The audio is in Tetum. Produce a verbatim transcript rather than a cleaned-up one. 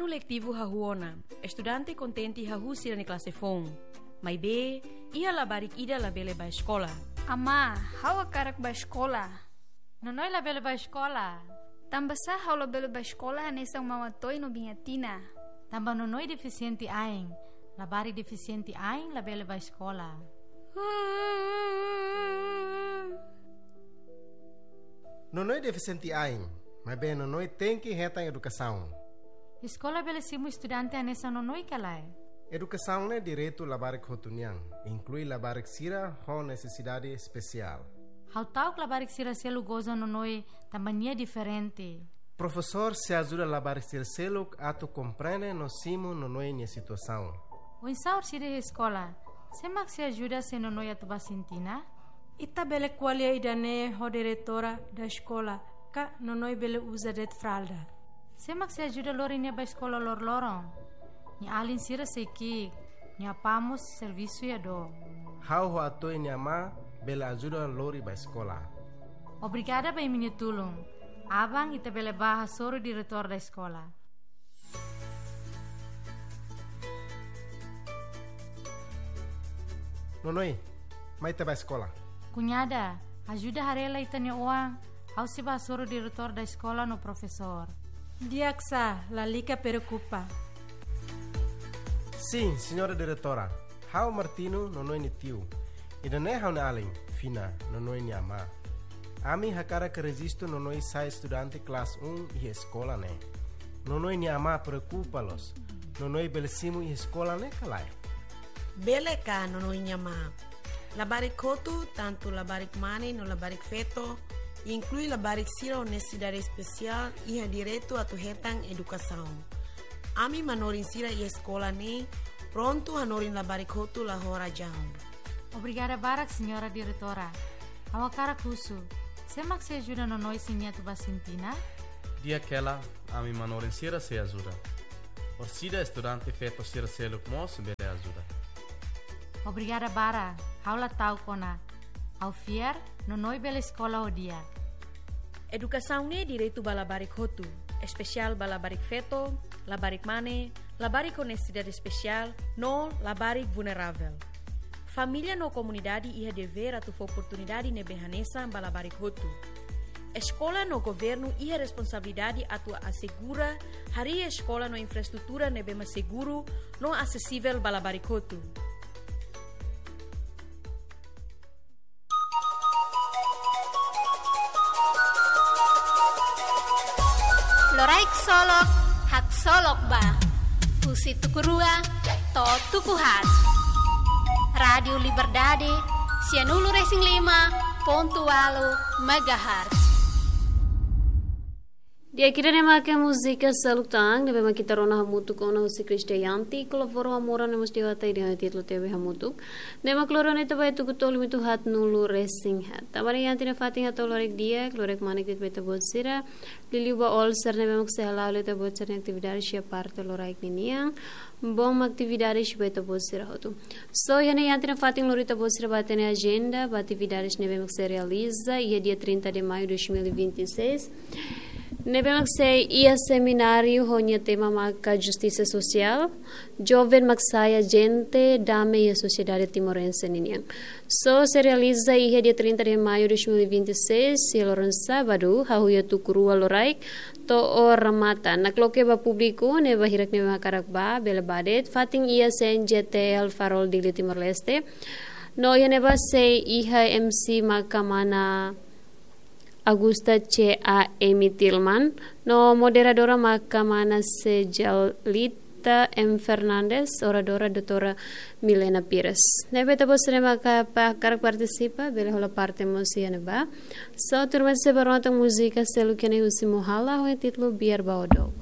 Anu letivu hahú ona, estudante kontente hahú sira-nia klase foun. Maibé, iha labarik ida labele bá eskola. Amá, ha'u hakarak bá eskola. Nonoi labele bá eskola. Tanbasá ha'u labele bá eskola hanesan maun Atoy no biin Atina? Tanba Nonoi defisiente ain. Labarik defisiente ain labele bá eskola. Nonoi defisiente ain, maibé Nonoi tenke hetan edukasaun. Eskola bele simu estudante hanesan Nonoi ka lae? Edukasaun ne'e direitu labarik hotu nian, inklui labarik sira ho nesesidade espesiál. Ha'u ta'uk labarik sira seluk goza Nonoi tanba nia diferente. Profesór sei ajuda labarik sira seluk atu komprende no simu Nonoi nia situasaun. Oinsá orsida iha eskola? Sé mak sei ajuda se Nonoi atu bá sintina? Ita bele ko'alia ida-ne'e ho diretora da eskola, ka Nonoi bele uza de'it fralda. Sé mak sei ajuda lori nia bá eskola loroloron? Nia alin sira sei ki'ik, nia apá mós servisu iha dook. Ha'u ho Atoy nia amá bele ajuda lori bá eskola. Obrigada ba imi-nia tulun. Aban ita bele bá hasoru diretór da eskola. Nonoi, mai ita bá eskola. Kuñada, ajuda haree lai ita-nia oan, ha'u sei bá hasoru diretór da eskola no profesór. Di'ak sá, lalika preokupa. Sin, señora diretora. Ha'u Martino, Nonoi nia tiu. Ida-ne'e ha'u-nia alin, Fina, Nonoi nia amá. Ami hakarak rejistu Nonoi sai estudante klase um iha eskola ne'e. Nonoi nia amá preokupa loos. Nonoi bele simu iha eskola ne'e ka lae? Bele ka, Nonoi nia amá. Labarik hotu, tantu labarik mane no labarik feto, inklui labarik sira ho nesesidade espesiál, iha direitu atu hetan edukasaun. Ami manorin sira iha eskola ne'e prontu hanorin labarik hotu la ho razaun. Obrigada barak, señora diretora. Ha'u hakarak husu, sé mak sei ajuda Nonoi se nia atu bá sintina? Di'ak hela, ami manorin sira sei ajuda. Orsida estudante feto sira seluk mós bele ajuda. Obrigada barak, ha'u la ta'uk ona. Ha'u fiar, Nonoi bele eskola ho di'ak. Edukasaun ne'e direitu ba labarik hotu, espesiál ba labarik feto, labarik mane, labarik ho nesesidade espesiál, no labarik vulneravel. Família no komunidade iha devér atu fó oportunidade ne'ebé hanesan ba labarik hotu. Eskola no governu iha responsabilidade atu asegura harii eskola no infraestrutura ne'ebé mak seguru no asesivel ba labarik hotu. Loraik solok, haksolok ba. Husi tuku rua to'o tuku haat. Rádiu Liberdade, sianulu resin lima pontu ualu megahertz. Di'ak, ida-ne'e maka múzika Seluk Tan, ne'ebé mak ita rona hamutuk ona husi Krisdayanti, kolabora Amora ne'e mós di'ak, ita ida títulu T V hamutuk. Ne'e mak loron ita bá tuku tolu limitu haatnulu resin haat. Tanba ne'e iha ita-nia fatin hato'o loraik di'ak, loraik manek de'it ba ita-boot sira. Liuliu ba Olser ne'ebé mak sei hala'o ita-boot sira-nia atividade iha parte loraik ninian. Bom atividade ba ita-boot sira hotu. So, iha ne'e iha ita-nia fatin lori ita-boot sira ba hatene ajenda ba atividade ne'ebé mak sei realiza iha dia trinta de maio dois mil e vinte e seis. Ne'ebé mak sei iha semináriu ho nia tema maka justisa sosiál. Joven mak sai ajente dame iha sosiedade timorense ninian. So sei realiza iha dia trinta de maio dois mil e vinte e seis, iha loron sábadu, hahú iha tuku rua loraik, to'o remata. Nakloke ba públiku ne'ebé hirak ne'ebé hakarak bá, bele bá de'it, fatin iha C N J T L Farol Dili Timor-Leste. No iha ne'ebá sei iha M C maka mana Augusta C A M Tilman, no moderadora maka mana Sejalita M Fernandes, oradora doutora Milena Pires. Ne'ebé ita-boot sira maka pa-, hakarak partisipa, bele hola parte mós iha ne'ebá. So, tuirmai sei bá rona tan múzika seluk iha ne'e husi Mohala, ho títulu Biar Ba Ó Dook.